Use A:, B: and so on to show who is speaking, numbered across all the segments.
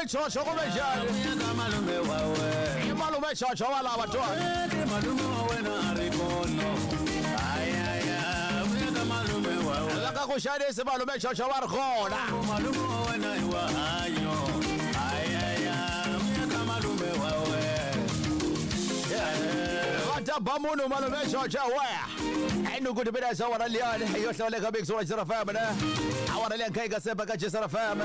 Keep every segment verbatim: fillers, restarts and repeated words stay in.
A: malume Chocho kumbe njhani? I malume Chocho wa lava twani. La ka ku xanisi malume Chocho wa ri kona. Va ta ba munhu malume Chocho we. Enuku tipeda sa wara liyani yo hlawuleka big sura Jisara F M ne. Awara liya kai ka sepa ka Jisara F M.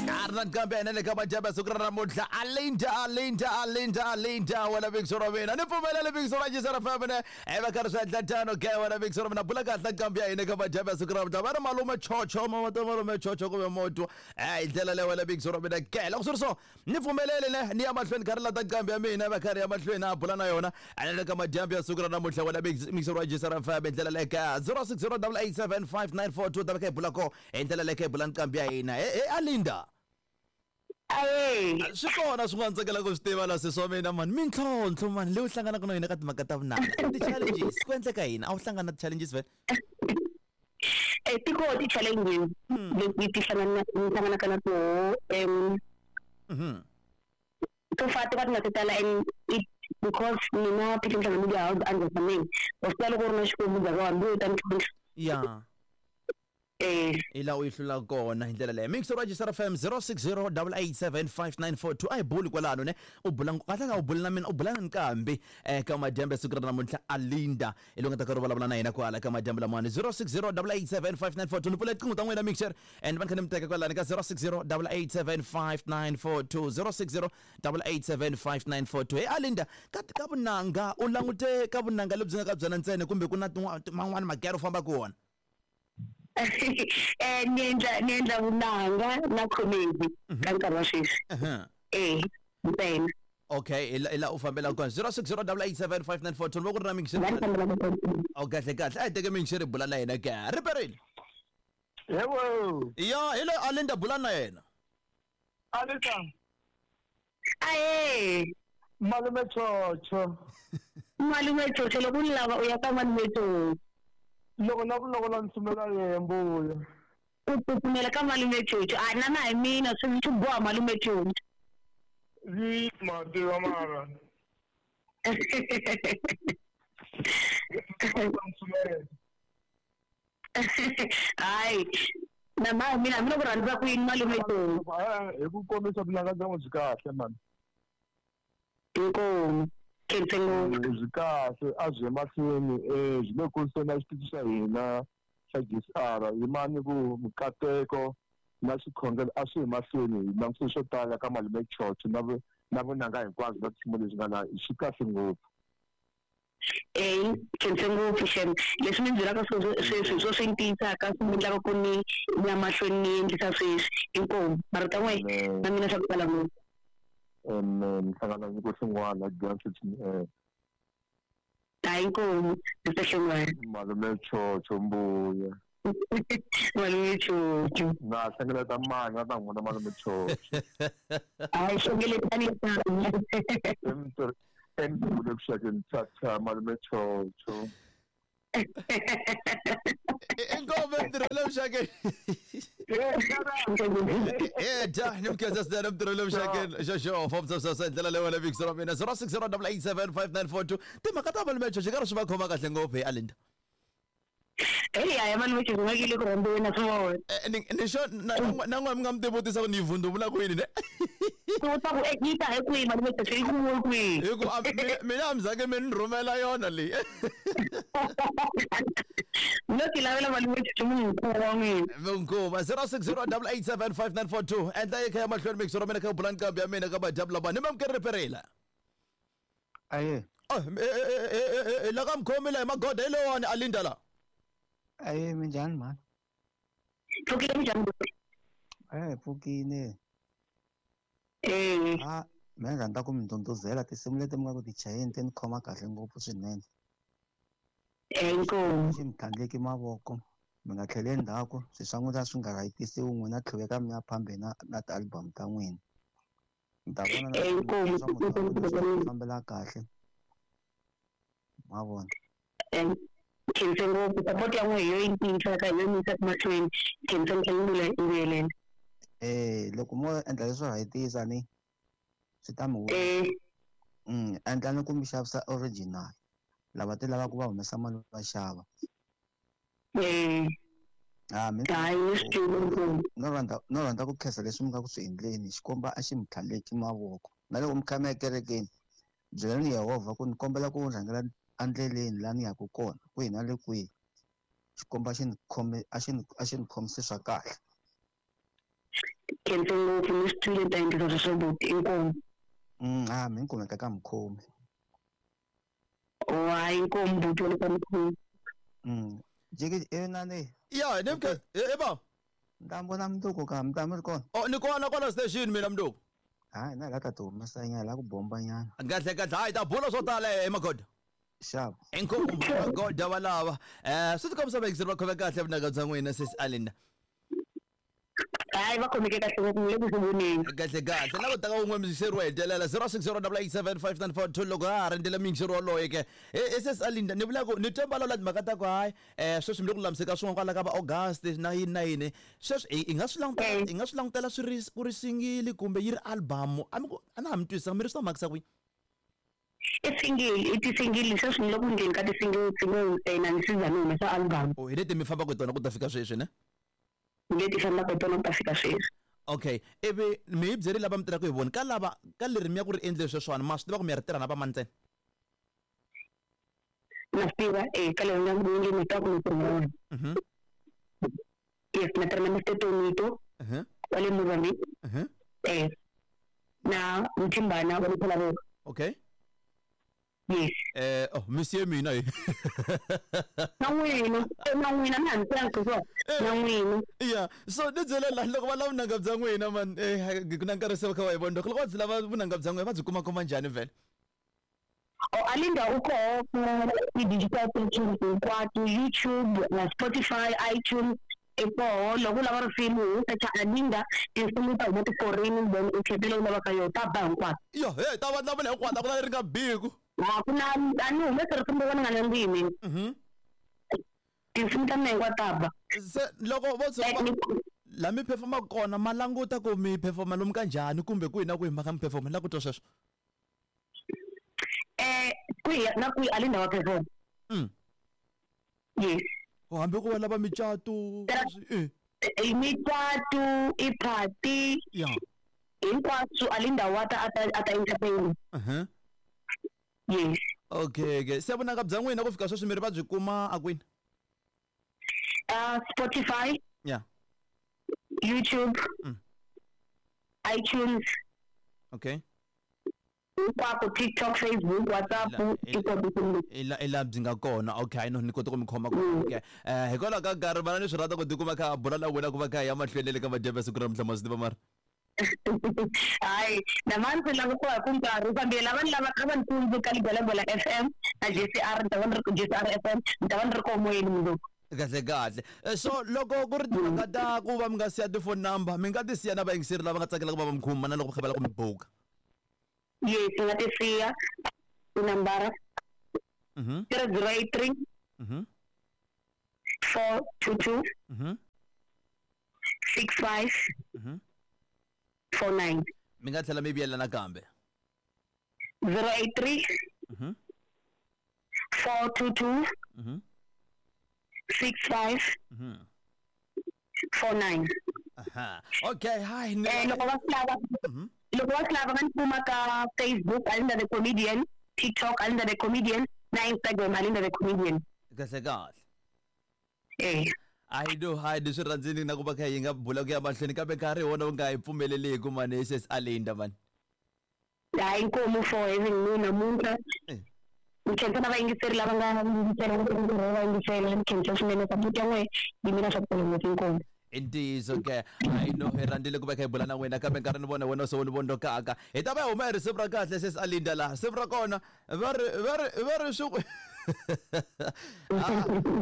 A: Arnan kambe ene ka majaba sukra namuntlha Alinda Alinda Alinda Alinda wala big sura mina. Ni pfumelele big sura Jisara F M ne. Eva ka ri swa tano ke wala big sura mina bula kahle kambe ya hina ka majaba sukra namuntlha. Va ri malume Chocho mama ta malume Chocho kumbe moto. Eh ndlela leyi wala big sura mina ke. Loko swi ri so ni pfumelele ne ni ya mahlweni ka ri lata kambe ya mina va ka ri ya mahlweni a bula na yona. Ene ka majambi ya sukra namuntlha wala big sura Jisara F M ndlela leyi ka zero six zero eight eight seven five nine four two ta va ka hi bula ko hi ndlela leyi ka hi bula nqambi ya hina. E Alinda.
B: Aye.
A: Swi kona swin'wana tsakela ku swi tiva la sesi wa mina mani mintlhontlho mani leyi u hlanganaka na yona ka timhaka ta vunanga ti-challenges ku endleka yini a wu hlangana na ti-challenges vhele?
B: Eh ti kona ti-challenges leti ti hlanganaka na toho um to far ti va ti nga ti tala and it because mina Phitlho Media House understanding wa swi tiva loko u ri na xikwembu ndzhaku ka hambi u ta mintlhontlho.
A: Ya.
B: Eh
A: hi laha u yi hlula kona hi ndlela leyi. Mixer wa Jisara F M zero six zero eight eight seven five nine four two a hi buli kwalano ne u bula kahle ka u bula na mina u bula na nkambi eka madyambu ya siku ra namuntlha Alinda hi loyi nga ta ka ri vulavula na hina kwala ka madyambu lamawani zero six zero eight eight seven five nine four two ni pfula tiqingho ta n'wina Mixer and va ni kha ni mi teka kwalano ka zero six zero eight eight seven five nine four two zero six zero eight eight seven five nine four two. Hey Alinda ka ka vunanga u langute ka vunanga lebyi nga ka byona ntsena kumbe ku na man'wani magero u fambaka wona?
B: Eh ni endla ni endla vunanga na comedy ka nkarhi wa sweswi. Eh ntsena.
A: Okay ila ila u fambela kona zero six zero eight eight seven five nine four two loko ri na mixer. O kahle kahle a hi teke mixer hi bula na yena ke riperile.
C: Yebo.
A: Ya hi loyi Alinda bula na yena.
C: Alinda.
B: Aye.
C: Malume Chocho.
B: Malume Chocho loko u lava u ya ka malume Chocho.
C: Loko na ku loko la ntsumela yehe mbuya.
B: U tsutsumela ka malume Chocho a na na hi mina swi swi boha malume Chocho.
C: Yi ma tiva mara.
B: Hayi na ma mina mina ku rhandza ku yini malume Chocho.
C: Hi ku kombisa vunanga bya n'wi byi kahle mani.
B: Inkomu.
C: Byi kahle a byi emahlweni um byi le kuriseni na xitichi xa hina xa G S R yimani ku mikateko na xikhongelo a swi hi mahlweni hi langutise swo tala ka malume Chocho na na vunanga hinkwabyo na tinsimu leswi nga laha swi kahle ngopfu.
B: Eh khense ngopfu xem leswi mi byelaka sweswi swo swi ntiyisaka swi endlaka ku ni ya mahlweni ni endlisa sweswi inkomu marito n'we na mina swa ku tala ngopfu.
C: Um hlangana nyiko xin'wana dyondzo eh
B: hayi inkomu ndzi xin'wana
C: malume Chocho mbuya.
B: Malume Chocho
C: na hlengeleta mali na ta n'wina malume Chocho.
B: Hayi hlengeletani
C: emntu kushakeni thatha malume Chocho.
A: Inkomu emntirhweni emxakeni. Eh ja ni mkeza sina emntirhweni emxakeni xoxo fomsa sasa ndlela leyi wena big sura mina zero six zero eight eight seven five nine four two timhaka ta malume Chocho karhi swi va khoma kahle ngopfu hi Alinda.
B: Hey ya malume Chocho nga kile ku rhambiweni na swona.
A: Ni ni xo na na n'we mi nga mi tivutisa ku ni yi vundumula kwini ne?
B: Ku ta ku yi ta hi kwihi malume Chocho yi kumiwe kwihi?
A: Hi ku mina a mi zange mi ni rhumela yona leyi.
B: No ti lavela malume Chocho munhu wa n'wina.
A: Munhu zero six zero eight eight seven five nine four two endla yi kha ya mahlweni mixer wa mina kha bula nqambi ya mina ka madyambu lama ni mamukeri riperile.
D: Aye.
A: Oh eh la ka mkhomi la hi magoda hi lowani Alinda la.
D: Aye minjhani mhani?
B: Pfukile minjhani?
D: Eh pfukile.
B: Eh.
D: Ah mina rhandza ku mi ndhundhuzela tinsimu leti mi nga ku ti chayeni ti ni khoma kahle ngopfu swinene.
B: Eh inkomu.
D: Xi mi tlhandleki mavoko mi nga tlheli endzhaku swi swa n'wina swi nga rhayitisiwi n'wina tlhuveka mi ya phambeni na na ti-album ta n'wina. Mi ta vona na
B: Inkomu.
D: swa munhu swi fambela kahle. Ma vona.
B: Khense ngopfu support ya n'we hi yo yi tiyisaka hi yo ni yisaka mahlweni. Khense ni tlhela ni vuyelela.
D: Eh loko mo endla leswo rhayitisa ni swi ta mi
B: eh
D: mm endla ni ku mi xavisa original lava ti lavaka va humesa mali va xava
B: eh
D: ah mina
B: hayi ni swi twile inkomu
D: no rhandza no rhandza ku khensa leswi mi nga ku swi endleni xikomba a xi mi tlhaleki mavoko na loko mi kha mi ya ekerekeni byelani Yehovha ku ni kombela ku rhangela endleleni laha ni yaka kona kwihi na le kwihi xikomba xi ni khome a xi ni a xi ni khomise swa kahle
B: khense ngopfu ni swi twile ni ta endlisa sweswo buti inkomu
D: mm ah mi ni kumeka ka mukhomi
B: oh hayi inkomu buti wa le ka mukhomi
D: mm jiki inani
A: ya ni mke e ba
D: ni ta vona mundzuku ka mi ta mi ri kona
A: oh ni kona kwala station mina mnduku
D: hayi na la ta ti humesa nyana la ku bomba nyana
A: kahle kahle hayi ta bula swo tala emagoda
D: xava
A: inkomu magoda valava eh swi tikombisa vayingiseri va khome kahle vunanga bya n'wina sis Alinda
B: hayi va khomeke kahle ngopfu ni le ku swi voneni
A: kahle kahle na ku taka wun'we muyingiseri wo hetelela zero six zero double eight seven five nine four two loko ha ha rindzele muyingiseri woloye ke e sis Alinda ni vula ku ni twe vulavula timhaka ta ku hayi um sweswi mi le ku lulamiseka swin'wana kwala ka va August na yini na yini sweswi hi hi nga swi langutela hi nga swi langutela swi ri ku ri single kumbe yi ri album a mi ku a na ha mi twisisa mi ri swi ta makisa kwihi
B: i single i ti-single sweswi ni le ku endleni ka ti-single single ntsena ni siza ni humesa album
A: oh hi leti mi fambaka hi tona ku ta fika sweswi ne
B: leti fambaka hi tona ku ta fika sweswi
A: okay ivi mi hi byerile lava mi tirhaka hi vona ka lava ka leri mi ya ku ri endleni sweswiwani ma swi tiva ku mi ya ri tirha na vamani ntsena
B: na swi tiva eh ka leri nga ku endleni ni tiva ku ni tirha na vona
A: Mhm.
B: yes na tirha na Mister Tonito
A: Mhm.
B: wa le Mozambique
A: Mhm.
B: eh na Mthimbana wa le Phalaborwa
A: okay
B: yes
A: eh oh monsieur mina hi
B: na n'wina eh, na n'wina na ha mi tivanga ku na n'wina
A: ya so ni byele la loko va lava vunanga bya n'wina man eh ku na nkarhi se va kha va hi vona loko va byi lava vunanga bya n'wina va byi kuma kuma njhani vhele
B: o Alinda u koho ku ti-digital platforms hinkwato YouTube na Spotify iTunes i koho loko u lava risimu u search Alinda tinsimu ta huma ti-foreign then u khetha leyi u lavaka yona ta ba hinkwato
A: yo he ta va lavula hinkwato a ku na leri nga biku
B: a ku na a ni humesi risimu ro ka ni nga nandzihi mina
A: mhm
B: tinsimu ta mina hinkwato ta ba
A: se loko vo tshuka
B: Eh,
A: va
B: ni-
A: la mi performaka kona ma languta ku mi performa lomu ka njhani kumbe kwihi na kwihi mhaka mi performa la ku twa sweswo
B: eh kwihi na kwihi Alinda wa perform
A: mm
B: yes
A: oh hambi ku va lava micato
B: Tera-
A: eh
B: i micato i party
A: ya
B: hinkwaswo Alinda wa ta a ta a ta entertain
A: uh-huh.
B: yes
A: okay okay se vunanga bya n'wina ku fika sweswi mi ri va byi kuma a kwini
B: uh, Spotify
A: ya
B: YouTube
A: Mm.
B: iTunes
A: okay
B: hinkwako TikTok Facebook WhatsApp
A: Ila- ila-
B: hinkwako kumbe
A: i la i la byi nga kona okay no ni kota ku mi khoma ku okay eh hikwalaho ka nkarhi vana ni swi rhandza ku tikuma kha bula na wena ku va kha hi ya mahlweni le ka madyambu ya siku ra namuntlha ma swi tiva mara
B: hayi namani ndzi lava ku va ku nkarhi fambile lava ni lavaka va ni tsundzuka Ligwalagwala F M na J C R ni ta va ni ri J C R F M ni ta va ni ri koho moyeni mundzuku
A: kahle kahle Eh, so loko ku ri timhaka ta ku va mi nga siya ti-phone number mi nga ti siya na vayingiseri lava nga tsakelaka va va mi khuma na loko va kha va lava ku mi buka
B: yes ni nga ti siya tinambara
A: Mhm,
B: zero zero eight three
A: mhm,
B: four two two
A: mhm,
B: six five
A: mhm.
B: four nine
A: mi nga tlhela mi vuyela nakambe
B: zero eight three
A: Mhm,
B: four two two
A: mhm,
B: six five
A: mhm.
B: four nine
A: Aha. okay hi ni
B: eh loko va swi lava
A: Mhm.
B: loko va swi lava va ni kuma ka Facebook Alinda the Comedian TikTok Alinda the Comedian na Instagram Alinda the Comedian
A: kahle kahle
B: eh
A: hayi no hayi ni swi rhandzini na ku va kha hi nga bula ku ya mahlweni kambe nkarhi hi wona wu nga hi pfumeleliku mani sis Alinda mani
B: hayi inkomu for having me namuntlha
A: Eh.
B: ni khensa na vayingiseri lava nga yingisela va yingisela ni khensa swinene support ya n'wehe yi mina swa ku tala ngopfu inkomu
A: i ntiyiso ke hayi no hi rhandzile ku va kha hi bula na wena kambe nkarhi ni vona wena se wu ni vondzokaka hi ta va hi huma hi risimu ra kahle sis Alinda laha risimu ra kona va ri va ri va ri swi a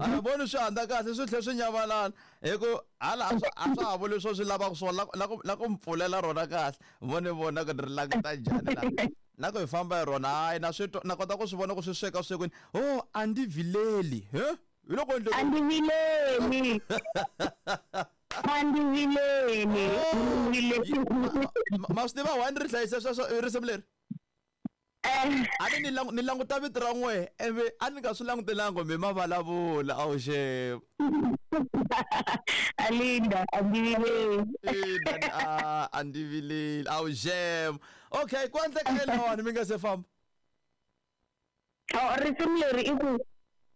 A: a voni swi handza kahle swi tlhe swi nyamalala hi ku hala a swa a swa ha vuli swo swi lavaka swona la ku- la ku la ku mi pfulela rona kahle vone vona ku ni ri languta njhani la na ku hi famba hi rona hayi na swi twa na kota ku swi vona ku swi sweka swekwini oh a ndzi vileli he hi loko endle
B: a ndzi vileli A ndzi vileli
A: ma swi tiva why ni ri hlayisa sweswo risimu leri a ni ni languta vito ra n'we ivi a ni nga swi langutelanga mi ma vulavula a wu xe
B: Alinda a ndzi vileli
A: ina a ndzi vileli a wu xem okay ku endleka yini lawani mi nga se famba
B: oh risimu leri i ku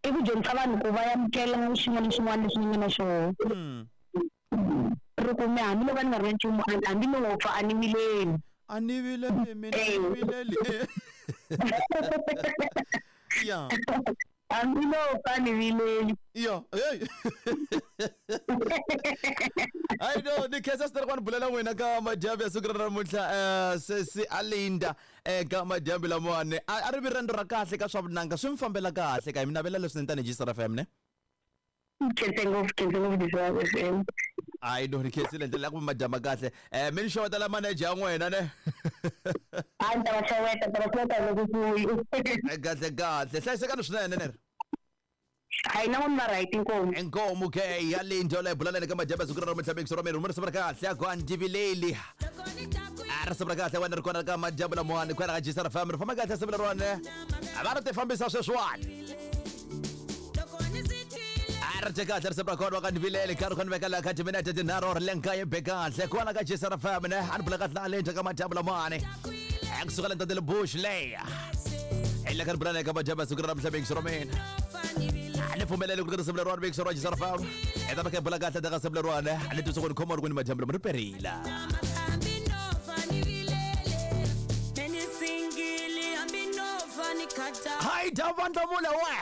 B: i ku dyondzisa vanhu ku va amukela xin'wana na xin'wana lexi ni nga na xona ri ku mi hambiloko ni nga ri na nchumu hambi ni ngo pfa a ni vileli
A: a ni vileli mina ni vileli ya
B: hambi no pfa ni vileli
A: yo hey hayi no ni khensa swinene ku va ni bulela n'wina ka madyambu ya siku ra namuntlha sesi Alinda eka madyambu lamawani a ri vi riendzo ra kahle ka swa vunanga swi mi fambela kahle ka hi mi navela leswinene tanihi G S R F M ne
B: khense ngopfu khense ngopfu G S R F M
A: hayi no ni khensile ndlela ya ku madyamba kahle um mi ni xewetela manager ya n'wina ne
B: a ni ta va xeweta ta va xeweta loko kuyi
A: kahle kahle hlayisekani swinene ne
B: hayi na n'wina right inkomu
A: inkomu ke ya Linda leyi bulaleni ka madyambu siku ra namuntlha mixo ra mina risimu ra kahle ku a ndzi vileli a risimu ra kahle wena ri kona ka madyambu lamawani kwala ka G S R F M ri famba kahle risimu leriwani a va ri ti fambisa sweswiwani a ri dye kahle risimu ra kona wa ka ndzi vileli karhi kha ni veka laha ka timinete tinharhu ri le nkaye be kahle kwala ka G S R F M ne a ni bula kahle na Linda ka madyambu lamawani kusukela ntatele Bush leya hi le ka ri bulani ka madyambu siku ra namuntlha mixo ra mina ni pfumelele ku ri risimu leriwani mixo ra G S R F M hi ta va kha hi bula kahle ka risimu leriwani a ni twisa ku ni khoma ri ku ni madyambu lama ri perile hayi dya vandlamula we